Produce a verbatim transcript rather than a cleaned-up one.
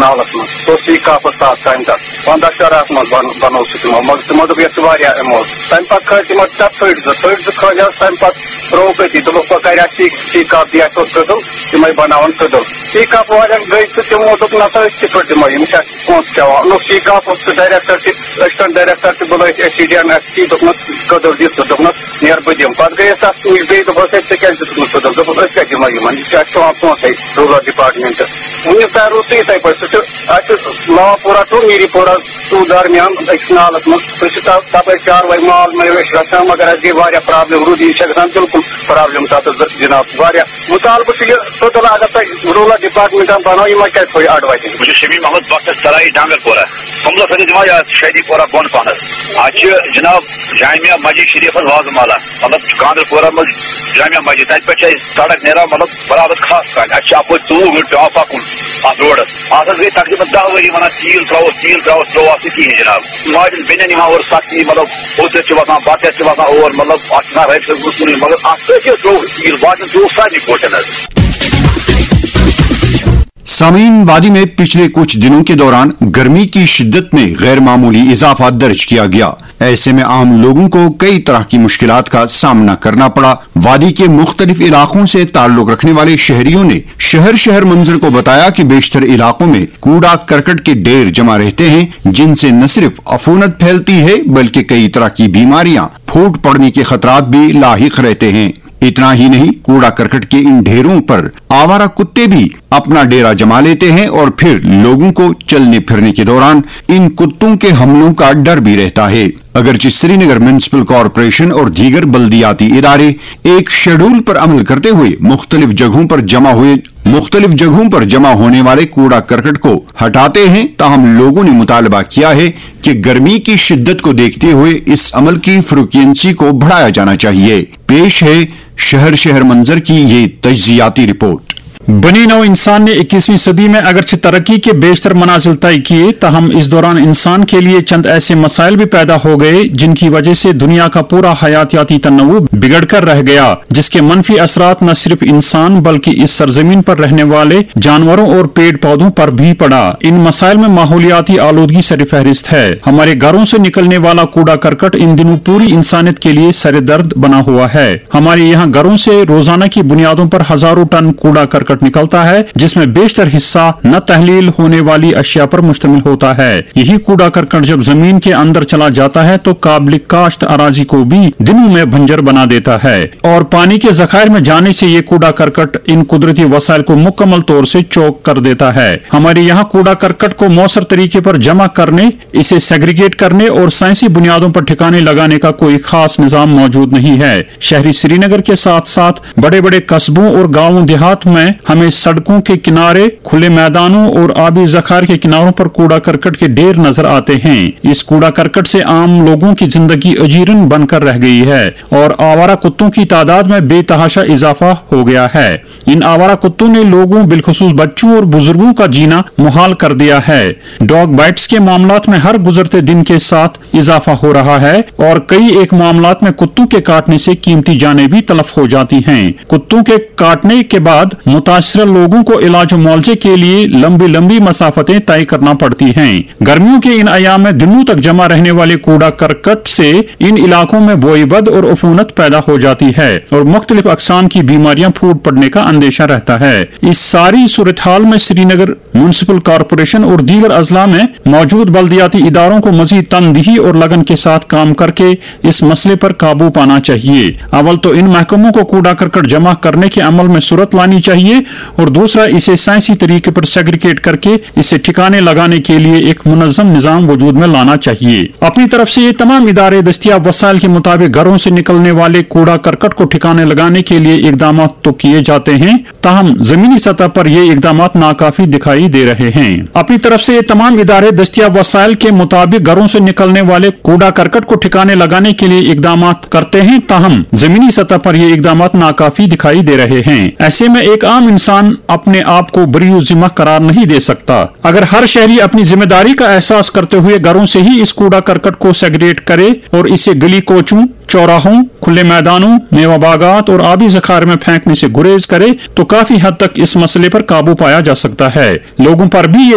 نالس منٛز۔ سُہ اوس سی کاپس تحت کامہِ تتھ۔ پنٛداہ شُراہس منٛز بن-، بنوو سُہ تِمو، مگر تِمو دوٚپ، یَتھ چھِ واریاہ ایموٹ۔ تَمہِ پتہٕ کھٲلۍ تِمو تَتھ تھٔٹۍ زٕ، تھٔٹۍ زٕ کھٲلۍ حظ۔ تَمہِ پتہٕ ترٛووُکھ أتی، دوٚپُکھ، وۄنۍ کَرِ اَسہِ سی، سی کاپ دِ اَسہِ اورٕ کٔدٕل، تِمے بناون کٔدٕل۔ سی کاپ والٮ۪ن گٔے تہٕ تِمو دوٚپ، نہ سا، أسۍ کِتھ پٲٹھۍ دِمو؟ یِم چھِ اَسہِ پونٛسہٕ کھٮ۪وان۔ اوٚنُکھ سی کاپ، اوس سُہ ڈایریکٹر تہِ، أسۍ چھِ تِم ڈایریکٹر تہِ بُلٲوِتھ، S C D M S C, دوٚپنَس، کٔدٕل دِ ژٕ، دوٚپنَس، نیر بہٕ دِمہٕ۔ پتہٕ گٔیَس تَتھ نِش بیٚیہِ، دوٚپُس، ہے، ژےٚ کیٛازِ دیُتُکھ نہٕ کٔدٕل؟ دوٚپُن، أسۍ کَتہِ دِمو یِمن؟ یہِ چھُ اَسہِ پٮ۪وان پونٛسَے روٗرل ڈپارٹمنٹ۔ وُنیُک تام روٗد سُہ یِتھَے پٲٹھۍ۔ سُہ چھُ، اَسہِ چھُ لاوا پورہ ٹُو میٖری پورہ ٹُو درمیان أکِس نالَس منٛز۔ سُہ چھُ تَ-، تَپٲرۍ چاروٲے مال مٲرِو أسۍ رَچھان، مگر اَسہِ گٔے واریاہ پرابلم۔ روٗد یہِ چھےٚ گژھان بِلکُل پرابلم تَتَس، جِناب۔ واریاہ مُطالبہٕ چھُ یہِ، سُہ تُلہٕ اگر تۄہہِ روٗرل ڈپارٹمنٹَن بَنٲو، یِمَن کیٛازِ تھوٚو یہِ اَڈٕ وَتہِ؟ بہٕ چھُس شمیٖم احمد بخش سرایی ڈانگر پورہ۔ سُمبلس سۭتۍ دِوان یا شہدی پورہ بۄن پہنس۔ اتھ چھِ جناب جامعہ مسجد شریفس وازٕ مالا، مطلب گاندرپورہ منٛز جامعہ مسجد، تتہِ پٮ۪ٹھ چھِ أسۍ سڑک نیران، مطلب برابر خاص کامہِ۔ اسہِ چھِ اپٲرۍ ژوٚوُہ گٲنٛٹہٕ پٮ۪وان پکُن اتھ روڈس۔ اتھ حظ گٔے تقریباً دَہ ؤری ونان، تیٖل ترٛاووس، تیٖل ترٛاووس، ترٛوو اتھ نہٕ کِہیٖنۍ جناب۔ ماجن بیٚنٮ۪ن یِوان اورٕ سختی، مطلب اوٚت یَتھ چھِ وَسان، بَتہٕ یَتھ چھِ وَسان اور، مطلب اتھ چھُ آسان رایٹ سایڈس کُنُے، مگر اتھ کیٛاہ چھِ ترٛوو تیٖل، باسان ترٛوو سارنٕے پوٹن حظ۔ سامعین، وادی میں پچھلے کچھ دنوں کے دوران گرمی کی شدت میں غیر معمولی اضافہ درج کیا گیا۔ ایسے میں عام لوگوں کو کئی طرح کی مشکلات کا سامنا کرنا پڑا۔ وادی کے مختلف علاقوں سے تعلق رکھنے والے شہریوں نے شہر شہر منظر کو بتایا کہ بیشتر علاقوں میں کوڑا کرکٹ کے ڈھیر جمع رہتے ہیں، جن سے نہ صرف عفونت پھیلتی ہے بلکہ کئی طرح کی بیماریاں پھوٹ پڑنے کے خطرات بھی لاحق رہتے ہیں۔ اتنا ہی نہیں، کوڑا کرکٹ کے ان ڈھیروں پر آوارہ کتے بھی اپنا ڈیرا جما لیتے ہیں اور پھر لوگوں کو چلنے پھرنے کے دوران ان کتوں کے حملوں کا ڈر بھی رہتا ہے۔ اگرچہ سری نگر میونسپل کارپوریشن اور دیگر بلدیاتی ادارے ایک شیڈول پر عمل کرتے ہوئے مختلف جگہوں پر جمع ہوئے مختلف جگہوں پر جمع ہونے والے کوڑا کرکٹ کو ہٹاتے ہیں، تاہم لوگوں نے مطالبہ کیا ہے کہ گرمی کی شدت کو دیکھتے ہوئے اس عمل کی فریکوئنسی کو بڑھایا جانا چاہیے۔ پیش ہے شہر شہر منظر کی یہ تجزیاتی رپورٹ۔ بنی نوع انسان نے اکیسویں صدی میں اگرچہ ترقی کے بیشتر منازل طے کیے، تاہم اس دوران انسان کے لیے چند ایسے مسائل بھی پیدا ہو گئے جن کی وجہ سے دنیا کا پورا حیاتیاتی تنوع بگڑ کر رہ گیا، جس کے منفی اثرات نہ صرف انسان بلکہ اس سرزمین پر رہنے والے جانوروں اور پیڑ پودوں پر بھی پڑا۔ ان مسائل میں ماحولیاتی آلودگی سر فہرست ہے۔ ہمارے گھروں سے نکلنے والا کوڑا کرکٹ ان دنوں پوری انسانیت کے لیے سر درد بنا ہوا ہے۔ ہمارے یہاں گھروں سے روزانہ کی بنیادوں پر ہزاروں ٹن کوڑا کرکٹ نکلتا ہے، جس میں بیشتر حصہ نہ تحلیل ہونے والی اشیاء پر مشتمل ہوتا ہے۔ یہی کوڑا کرکٹ جب زمین کے اندر چلا جاتا ہے تو قابل کاشت اراضی کو بھی دنوں میں بنجر بنا دیتا ہے اور پانی کے ذخائر میں جانے سے یہ کوڑا کرکٹ ان قدرتی وسائل کو مکمل طور سے چوک کر دیتا ہے۔ ہمارے یہاں کوڑا کرکٹ کو مؤثر طریقے پر جمع کرنے، اسے سیگریگیٹ کرنے اور سائنسی بنیادوں پر ٹھکانے لگانے کا کوئی خاص نظام موجود نہیں ہے۔ شہری سری نگر کے ساتھ ساتھ بڑے بڑے قصبوں اور گاؤں دیہات میں ہمیں سڑکوں کے کنارے، کھلے میدانوں اور آبی ذخائر کے کناروں پر کوڑا کرکٹ کے ڈھیر نظر آتے ہیں۔ اس کوڑا کرکٹ سے عام لوگوں کی زندگی اجیرن بن کر رہ گئی ہے اور آوارہ کتوں کی تعداد میں بے تحاشا اضافہ ہو گیا ہے۔ ان آوارہ کتوں نے لوگوں، بالخصوص بچوں اور بزرگوں کا جینا محال کر دیا ہے۔ ڈاگ بائٹس کے معاملات میں ہر گزرتے دن کے ساتھ اضافہ ہو رہا ہے اور کئی ایک معاملات میں کتوں کے کاٹنے سے قیمتی جانیں بھی تلف ہو جاتی ہیں۔ کتوں کے کاٹنے کے بعد متاثرہ لوگوں کو علاج و معالجے کے لیے لمبی لمبی مسافتیں طے کرنا پڑتی ہیں۔ گرمیوں کے ان ایام میں دنوں تک جمع رہنے والے کوڑا کرکٹ سے ان علاقوں میں بوئی بد اور عفونت پیدا ہو جاتی ہے اور مختلف اقسام کی بیماریاں پھوٹ پڑنے کا اندیشہ رہتا ہے۔ اس ساری صورتحال میں سری نگر میونسپل کارپوریشن اور دیگر اضلاع میں موجود بلدیاتی اداروں کو مزید تندہی اور لگن کے ساتھ کام کر کے اس مسئلے پر قابو پانا چاہیے۔ اول تو ان محکموں کو کوڑا کرکٹ جمع کرنے کے عمل میں صورت لانی چاہیے اور دوسرا اسے سائنسی طریقے پر سیگریگیٹ کر کے اسے ٹھکانے لگانے کے لیے ایک منظم نظام وجود میں لانا چاہیے۔ اپنی طرف سے یہ تمام ادارے دستیاب وسائل کے مطابق گھروں سے نکلنے والے کوڑا کرکٹ کو ٹھکانے لگانے کے لیے اقدامات تو کیے جاتے ہیں، تاہم زمینی سطح پر یہ اقدامات ناکافی دکھائی دے رہے ہیں۔ اپنی طرف سے یہ تمام ادارے دستیاب وسائل کے مطابق گھروں سے نکلنے والے کوڑا کرکٹ کو ٹھکانے لگانے کے لیے اقدامات کرتے ہیں، تاہم زمینی سطح پر یہ اقدامات ناکافی دکھائی دے رہے ہیں۔ ایسے میں ایک عام انسان اپنے آپ کو بری ذمہ قرار نہیں دے سکتا۔ اگر ہر شہری اپنی ذمہ داری کا احساس کرتے ہوئے گھروں سے ہی اس کوڑا کرکٹ کو سیگریگیٹ کرے اور اسے گلی کوچوں، چوراہوں، کھلے میدانوں، میوہ باغات اور آبی ذخائر میں پھینکنے سے گریز کرے تو کافی حد تک اس مسئلے پر قابو پایا جا سکتا ہے۔ لوگوں پر بھی یہ